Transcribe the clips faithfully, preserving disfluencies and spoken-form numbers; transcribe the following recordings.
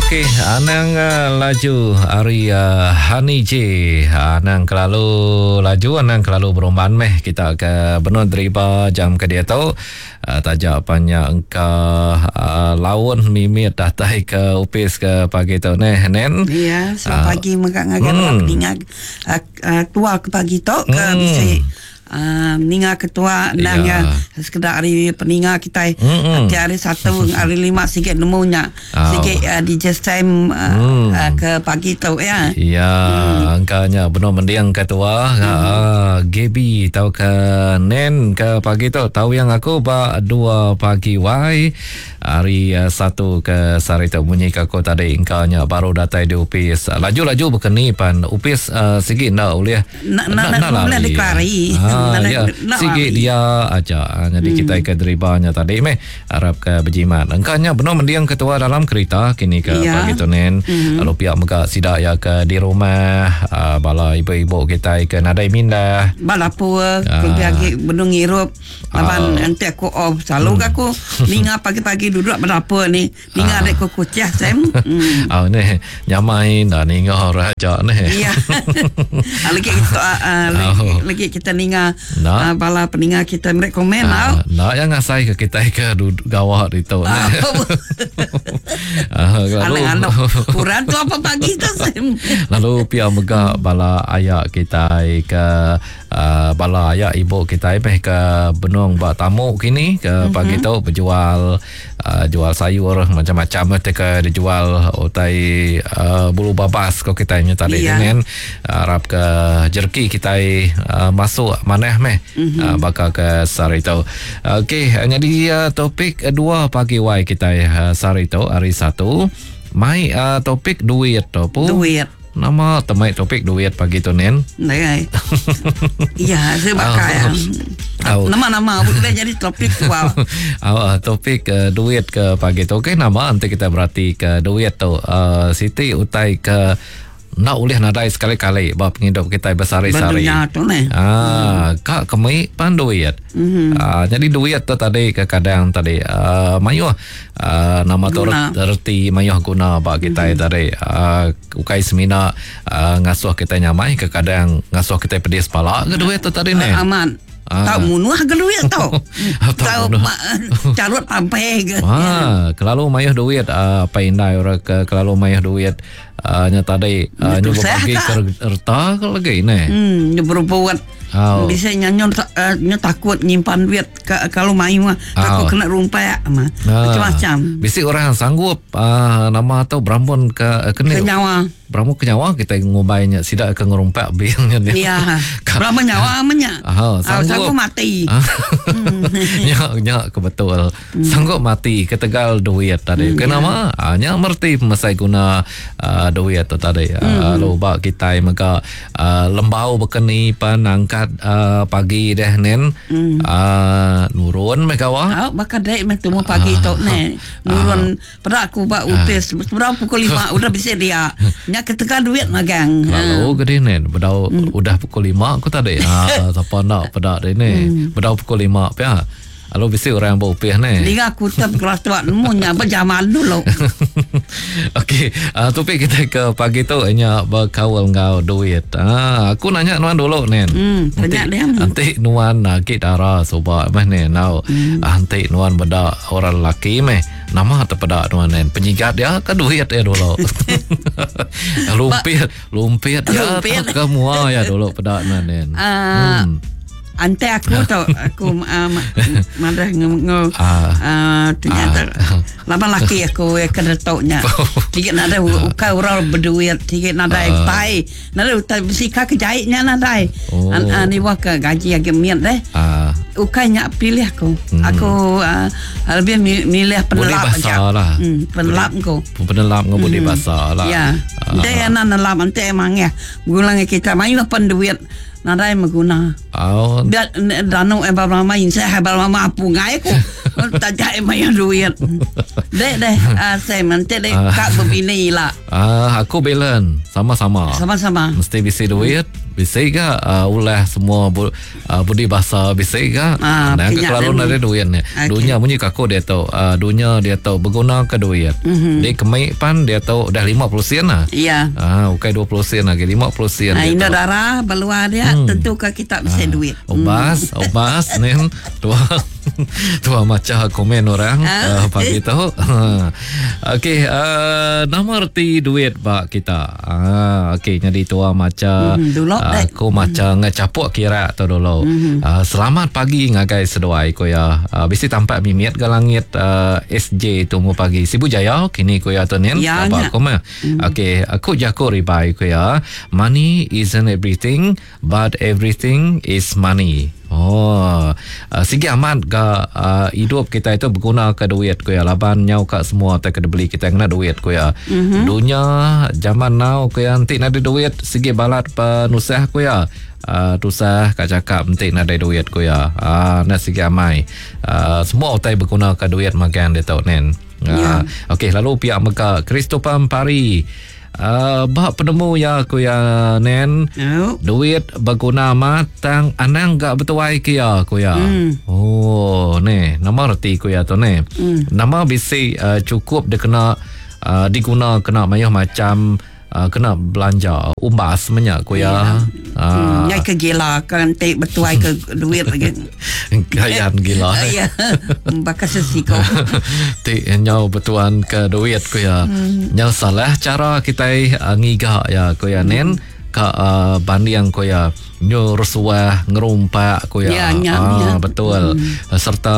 Okey, anang uh, laju hari uh, Honey J. Anang kelalu laju, anang kelalu berumban meh kita ke benun deriba jam ke dia tu. Uh, tajak banyak engka uh, laun mimit datai ke upis ke pagi tu neh nen. Ya, selamat uh, pagi megak ngagai hmm. peninga uh, uh, tua ke pagi tu ke hmm. bisi Uh, ninga ketua nang ya sekedar hari peninga kita mm-hmm. hari satu hari lima sikit nemunya oh. sikit uh, D J Sam uh, mm. uh, ke pagi tu ya. Ya, mm. angkanya benar mendiang ketua mm. uh, Gaby tau ke Nen ke pagi tu tahu yang aku ba dua pagi wai hari uh, satu ke sehari tu bunyi ke aku tadi engkanya baru datai di upis laju-laju berkeni pan upis uh, sikit nak boleh nak nak nak boleh deklari. Ha, ya, sikit dia aja. Jadi hmm. kita ke deribanya tadi meh harap ke berjimat. Engkanya benar mendiang ketua dalam kereta kini ke ya. Pagi tu nen. Hmm. Lalu pihak mega sidak ya ke di rumah uh, bala ibu-ibu kita ke nadai mindah. Bala pua uh, lagi benung ngirup laban uh, nanti aku off selalu hmm. aku ninga pagi-pagi duduk berapa ni ninga uh. dek ku kucah sem. Hmm. Ah ni nyamai dah ninga raja ni. Ya. Lagi kita uh, lagi, oh. lagi kita ninga nah. Uh, bala peninga kita mereka komen uh, nak yang ngasai ke kita ke gawat itu uh, lalu kurang tu apa pagi tu lalu pia mega bala ayak kita ke uh, bala ayak ibu kita meh ke benung ba tamu kini ke pagi tu berjual uh, jual sayur macam-macam ke dijual utai uh, bulu babas ko kita nya tadi yeah. Dengan harap ke jerki kita uh, masuk maneh meh mm-hmm. uh, bakal ke sehari tu. Okey, jadi uh, topik dua pagi wai kita uh, sehari tu hari satu mai uh, topik duit tu pu. Duit. Nama temai topik duit pagi tu nen. Nai. Ya, saya bakal. Oh. Nama-nama boleh jadi topik tu. Oh, topik uh, duit ke pagi tu. Okey, nama nanti kita berarti ke duit tu. Uh, Siti utai ke nak ulih nadai sekali-kali bab penghidup kita bersari-sari. Ah, hmm. Kak kemi pan duit. Hmm. Ah, jadi duit tu tadi kadang tadi uh, mayuh uh, nama tu reti mayuh guna bab kita hmm. tadi. Uh, ukai semina uh, ngasuh kita nyamai kadang ngasuh kita pedis pala ke duit tu tadi ni. Uh, aman. Ah. Tahu munuh ke duit tau. Tahu carut pampai ke. Ah, kelalu mayuh duit uh, apa indai orang ke kelalu mayuh duit uh, nya tadi uh, nyu bagi kereta ke lagi ni. Hmm, nyu berbuat. Oh. Bisa nyanyo uh, nyu takut nyimpan duit ke, kalau mayu takut oh. kena rumpai mah. Ah. Macam-macam. Bisi orang sanggup uh, nama tu berambun ke kena ke nyawa. Berambun ke nyawa kita ngubainya sidak ke ngerumpak biangnya dia. Ya. Berapa nyawa amnya? Ah, sanggup, sanggup mati. Nya nya kebetul. Hmm. Sanggup mati ketegal duit tadi. Hmm, Kenapa? Ya. Nya merti mesai guna uh, duit tu tadi. Hmm. Lalu bak kita mega uh, lembau bekeni pan angkat uh, pagi deh nen. Hmm. Uh, nurun meh kawa. Oh, bakal dek meh temu pagi uh, tu ne. Nurun uh, pada aku bak upis uh, berapa pukul lima udah bisa dia. Nya ketegal duit magang. Lalu gede nen bedau hmm. udah pukul lima aku tadi. Ha siapa nak pedak deh ni. Hmm. Bedau pukul lima pia. Lalu bisi orang berupih ni. Liga aku tetap kelas tua nemunya berjaman dulu. Okey, uh, topik kita ke pagi tu hanya berkawal ngau duit. Ah, aku nanya nuan dulu nen. Hmm, tanya dia. Nanti nuan lagi dara soba meh ni nau. Hmm. Nanti nuan bedak orang lelaki meh. Nama terpedak nuan nen. Penyigat dia ke duit dia dulu. Lumpit, lumpit ya ke mua ya dulu pedak nuan nen. Uh, hmm. Ante aku tu aku uh, madah nge uh, ternyata uh, lama laki aku yang kena taunya tiga nada ukai orang berduit tiga nada uh, tai nada utai besika kejaitnya nada oh. An, an, ni wah ke gaji agak miat deh uh, ukai nyak pilih aku hmm. aku uh, lebih milih penelap aja lah. Hmm, penelap aku penelap ngau budi basah lah ya dia nak nelap ante emang ya gulang kita mayu pen duit Nadai mengguna. Oh. Dia danu eh mama insah ba mama apu ngai aku. Tak jai main duit. Dek deh uh, Sam nanti dek uh. Kak berbini lah. Ah, uh, aku belen sama-sama. Sama-sama. Mesti bisi duit, bisi ga uh, ulah semua bu, uh, budi bahasa bisi ga. Ah, nah, kelalu nadai duit ni. Okay. Dunia bunyi kaku dia tu, uh, dunia dia tu berguna ke duit. Mm-hmm. Dia kemik pan dia tu dah lima puluh sen lah. Ya. Ah, ukai dua puluh sen lagi, lima puluh sen. Ah, indah darah beluar dia hmm. Tentu ke kita bisa ah, duit. Obas, hmm. obas nen tua tua macam komen orang ah. uh, pagi tu. Okey, uh, nama erti duit bak kita. Ah, okey, jadi tua macam hmm, dulu uh, aku macam hmm. ngecapuk kira tu dulu. Hmm. Uh, selamat pagi ngagai seduai ko ya. Uh, bisi tampak mimiat ke langit uh, S J tu mu pagi. Sibu Jaya kini ko ya tu nen. Ya, apa aku mah. Hmm. Okey, aku jago ribai ko ya. Money isn't everything, but everything is money. Oh, uh, sigi amat ga uh, hidup kita itu berguna ke duit ko ya. Laban nyau kat semua tak kena beli kita kena duit ko ya. Mm-hmm. Dunia zaman now ko ya nanti nak ada duit sigi balat penusah ko ya. Uh, tusah kat cakap nanti nak ada duit ko ya. Ah, uh, nak sigi amai. Uh, semua utai berguna ke duit makan dia tau nen. Uh, yeah. Okey, lalu pihak Mekah Christopher Pari. Uh, bak penemu ya aku ya nen. Oh. Duit berguna matang anang gak bertuai ke ya aku ya. Mm. Oh, ni nama reti ku ya tu ni. Mm. Nama bisi uh, cukup dia kena uh, diguna kena mayuh macam uh, kena belanja umbas menyak ku ya. Yeah. Uh. Hmm, nyai ke gila kan tik bertuai ke duit lagi. Gayan gila. Ya. Bakal sesiko. Tik nyau bertuan ke duit ku ya. Hmm. Nyau salah cara kita uh, ngiga ya ku ya nen ka uh, banding ku ya nyu rusuah ngerumpak ku ya. Ya, ya, ah, ya. Betul. Hmm. Serta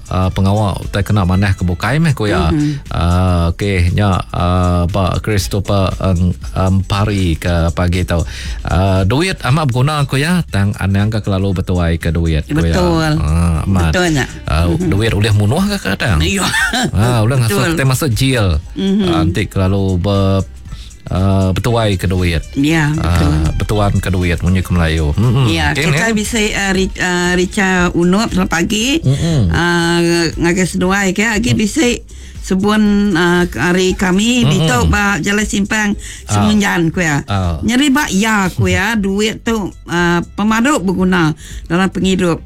uh, pengawal tak kena manah ke bukai meh ku ya. Hmm. Uh, okey nya uh, Pak Christopher um, um, Pari ke pagi tu. Uh, duit amat berguna ku ya, tang anang ke kelalu bertuai ke duit ku ya. Betul. Ah, amat. Betul nya. Uh, mm-hmm. Duit boleh munuh ke kadang. Ya. Ah, boleh ngasuh kita masuk jail. Mm-hmm. Uh, nanti kelalu ber Uh, bertuai ke duit. Ya, betul. Uh, bertuan ke duit munyi ke Melayu. Hmm. Ya, okay, kita ne? bisa uh, uh, Richa Unup selamat pagi. Mm-hmm. Uh, ngagai seduai ke lagi mm. bisa sebun uh, hari kami mm-hmm. ditok ba Jalan Simpang Semunjan ku ya. Oh. Nyeri ba ya ku ya duit tu uh, pemaduk berguna dalam penghidup.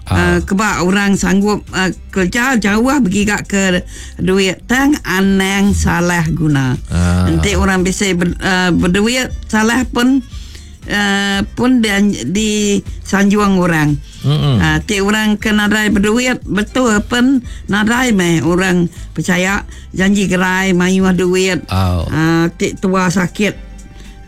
Ah. Uh, kebak orang sanggup uh, kerja jauh bergigak ke duit tang anang salah guna. Ah. Nanti orang bisa ber, uh, berduit salah pun uh, pun di, di sanjung orang. Mm-hmm. Uh, ti orang ke nadai berduit betul pun nadai meh orang percaya janji gerai mayu duit. Oh. Uh, ti tua sakit.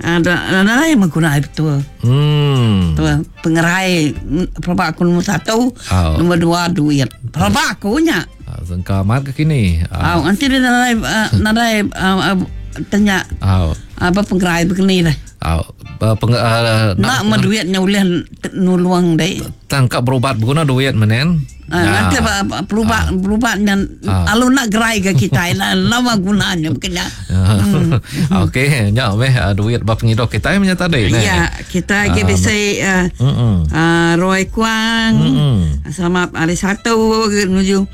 Uh, nadai mengguna betul. Hmm. Betul. Pengerai pelabak aku nombor satu, oh. nombor dua duit. Pelabak aku nya. Ah, sengka amat ke kini. Ah, oh, nanti dia nadai uh, nadai uh, uh, tanya. Oh. Apa pengerai begini dah. Oh, uh, peng, uh, nak, nak duitnya boleh nuluang deh. Tangkap berubat berguna duit menen. Ah, nanti berubat berubat dan alu nak gerai ke kita lah lama gunanya bukannya. Hmm. Okey, nya meh duit bab penghidup kita punya tadi ne. Ya, kita lagi bisa uh, uh, Roy Kuang selamat hari Sabtu menuju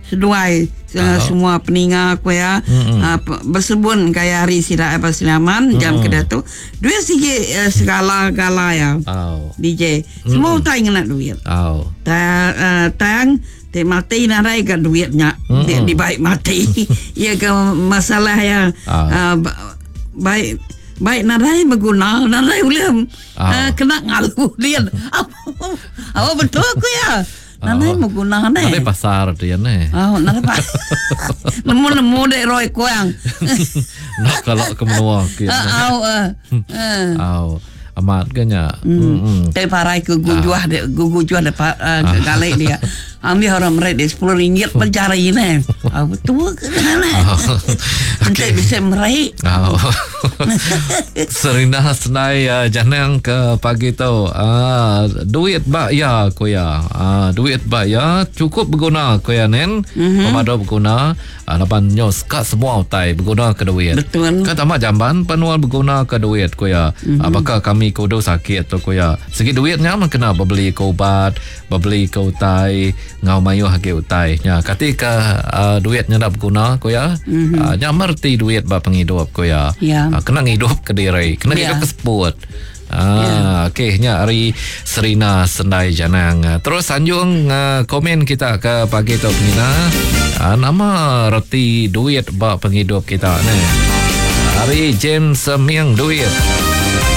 seduai uh, semua peninga aku ya uh, bersebun gaya hari sida apa selaman jam ke tu duit sikit uh, segala-gala ya. Oh. D J semua utai ngena duit. Oh. Ta uh, tang te mati narai ke duitnya di, di baik mati. Ya ke masalah ya oh. uh, baik baik narai berguna narai boleh oh. uh, kena ngalu dia. Apa betul aku ya. Nanai oh. Guna ne. Nanai pasar dia ne. Oh, nanai pasar. Nemu-nemu dek Roy Kuang. Nak kalau ke menua ke. Au eh. Au. Amat ke nya. Hmm. Te parai ke gujuah dek gujuah dek galek dia. Ambil orang merik dia sepuluh ringgit per jari ni. Ah, betul ke ni? Nanti bisa merik. Oh. Serina Senai uh, Janang ke pagi tu. Uh, duit bak ya ku ya. Uh, duit bak ya cukup berguna ku ya nen. Mm-hmm. Pemadu berguna. Uh, lapan nyos kat semua utai berguna ke duit. Betul. Kan tamat jamban penuan berguna ke duit ku ya. Mm-hmm. Uh, bakal kami kudu sakit tu ku ya. Segi duitnya mah kena berbeli ke ubat, berbeli ke utai, ngau mayuh agi utai. Nya ketika uh, duitnya nak berguna ku ya. Mm-hmm. Uh, nya merti duit ba penghidup ku ya. Ya. Uh, kena ngidup ke diri, kena Ya. ngidup ke seput. Ah, okey nya hari Serina Sendai Janang. Terus sanjung uh, komen kita ke pagi tu Nina. Uh, nama reti duit ba penghidup kita ni. Hari James Miang duit.